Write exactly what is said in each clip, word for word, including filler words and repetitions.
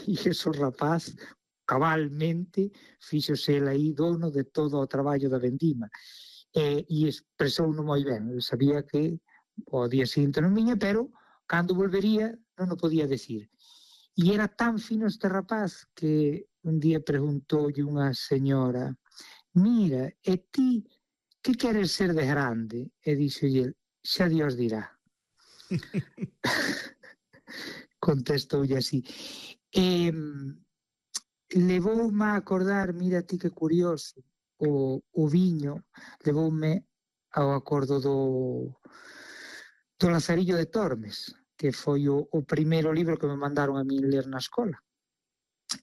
e ese rapaz cabalmente fíxose el aí dono de todo o traballo da vendima. E, e expresouno moi ben, el sabía que o día seguinte non viña, pero cando volvería non o podía decir. E era tan fino este rapaz que un día preguntoulle unha señora: mira, e ti que queres ser de grande? E dixolle: xa Dios dirá. Contestoulle así. E levoume a acordar, mira ti que curioso, o, o viño levoume ao acordo do, do Lazarillo de Tormes, que foi o, o primeiro libro que me mandaron a min ler na escola.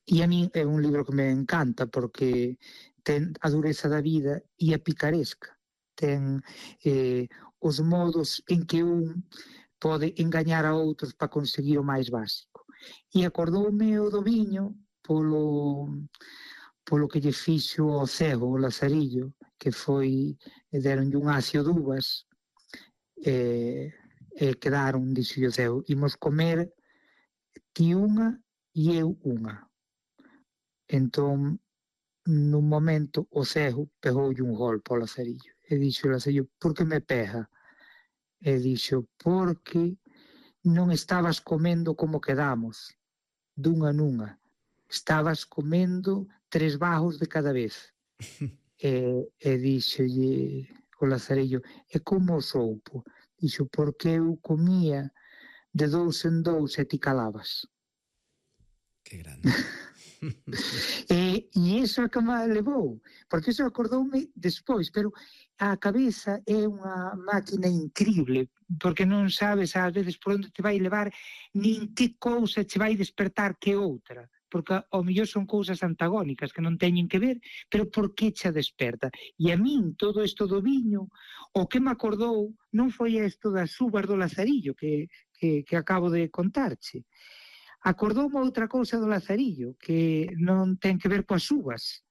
E a min é un libro que me encanta porque ten a dureza da vida e a picaresca. Ten eh, os modos en que un pode engañar a outros para conseguir o máis básico. E acordoume o do viño polo, polo que lle fixo ao cego, o Lazarillo, que foi, deronlle un acio de uvas, e, e quedaron, dixo o cego, imos comer ti unha e eu unha. Entón, nun momento, o cego pegoulle un golpe ao Lazarillo. E dixo o Lazarillo: por que me pega? E dixo: porque non estabas comendo como quedamos, dunha nunha. Estabas comendo tres bajos de cada vez. e, e dixolle o Lazarillo: e como soupo? Dixo: porque eu comía de dous en dous e ti calabas. Que grande. e, e iso é que me levou, porque iso acordoume despois, pero a cabeza é unha máquina increíble, porque non sabes ás veces por onde te vai levar, nin que cousa te vai despertar que outra, porque ao mellor son cousas antagónicas que non teñen que ver, pero por que che desperta? E a min todo isto do viño, o que me acordou non foi isto das uvas do Lazarillo que, que, que acabo de contarche. Acordoume outra cousa do Lazarillo que non ten que ver coas uvas,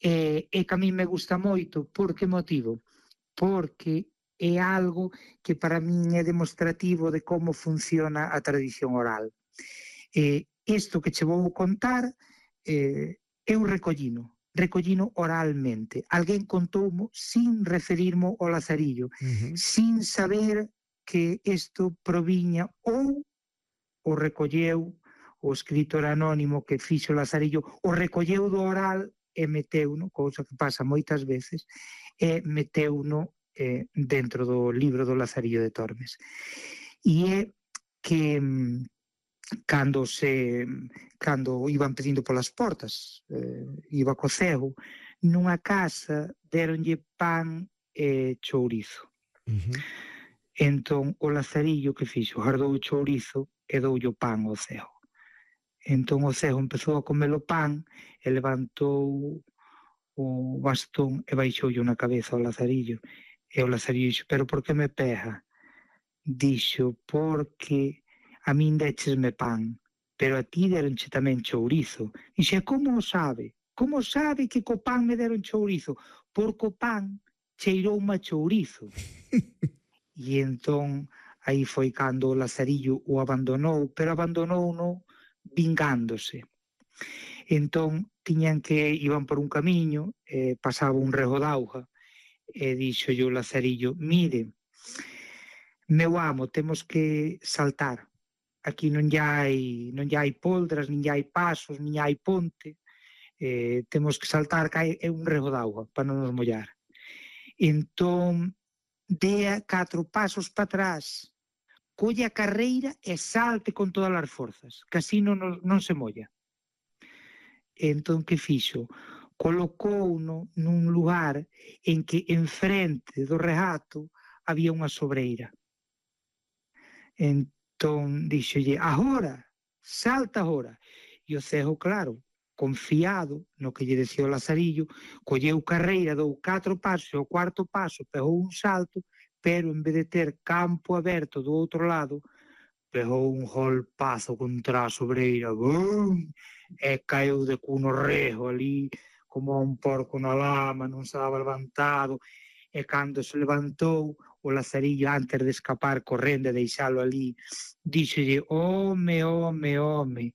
e, e que a mí me gusta moito. Por que motivo? Porque é algo que para min é demostrativo de como funciona a tradición oral. E isto que che vou contar, eh, eu recollino, recollino oralmente. Alguén contoumo sin referirmo ao Lazarillo, uh-huh. sin saber que isto proviña ou o recolleu o escritor anónimo que fixo Lazarillo, o recolleu do oral e meteuno, cousa que pasa moitas veces, e meteuno eh, dentro do libro do Lazarillo de Tormes. E é que cando se cando iban pedindo polas portas, eh, iba co cego, nunha casa deronlle pan e chourizo. Uh-huh. Entón o Lazarillo que fixo, guardou o chourizo e doulle o pan ao cego. Entón o cego empezou a comer o pan e levantou o bastón e baixoulle na cabeza ao Lazarillo. E o Lazarillo dixo: pero por que me pega? Dixo: porque a min déchesme pan, pero a ti deronche tamén chourizo. Dixo: como o sabe? Como sabe que co pan me deron chourizo? Porque o pan cheiroume a chourizo. E entón aí foi cando o Lazarillo o abandonou, pero abandonouno vingándose. Entón tiñan que, iban por un camiño, eh, pasaba un rego d'auga, e dixolle o Lazarillo: mire, meu amo, temos que saltar. Aquí non hai, non hai poldras, nin hai pasos, nin hai ponte, eh, temos que saltar, que hai é un rego d'auga para non nos mollar. Entón dea catro pasos para atrás, colle a carreira e salte con todas as forzas, que así non, non se molla. Entón, que fixo? Colocouno nun lugar en que enfrente do regato había unha sobreira. Entón, dixolle: agora, salta agora. E o cego, claro, confiado no que lle decía o Lazarillo, colleu carreira, dou catro pasos, e o cuarto paso pegou un salto, pero en vez de ter campo aberto do outro lado, pegou un golpazo contra a sobreira, ¡bum!, e caeu de cuno rejo ali, como un porco na lama, non se daba levantado, e cando se levantou, o Lazarillo, antes de escapar correndo e deixalo ali, díxolle: home, home, home,